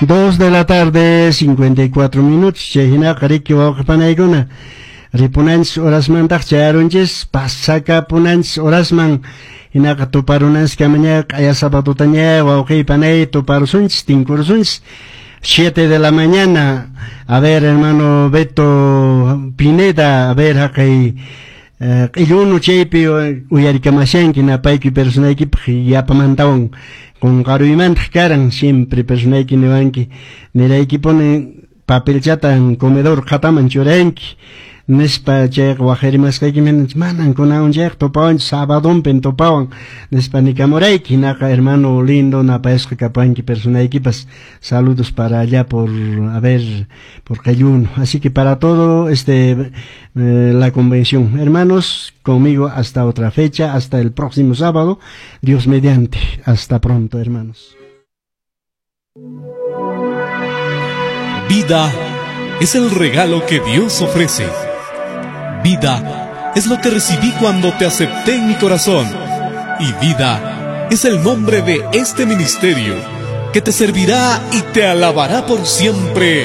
2 de la tarde, 54 minutos. Chay hinaqa riki wawqi panaykuna. Ripunanchis horasmantaq chayarunchis, pasakapunanchis horasman. Hinaqa tuparunanchis kamaña q'aya sabadutaña wawqi panay tuparusunchis, tinkurusunchis. 7 de la mañana. A ver, hermano Beto Pineda, a ver, haqay q'illunu chaypi uyarikamashanki napayki personaykipaq yapamantawan qunqaruymantaq karan siempre personayki niwanki niraykipuni papelchatan comedor qhataman churanki nispa chayqa waqharimasqayki manan kunan chayqa tupawanchis sabadonpin tupawan nispa nikamurayki. Hinaqa hermano lindo napayasqa kapanki personaykipas. Saludos para allá por, a ver, por Cayuno. Así que para todo la convención. Hermanos, conmigo hasta otra fecha, hasta el próximo sábado. Dios mediante. Hasta pronto, hermanos. Vida es el regalo que Dios ofrece. Vida es lo que recibí cuando te acepté en mi corazón. Y vida es el nombre de este ministerio que te servirá y te alabará por siempre.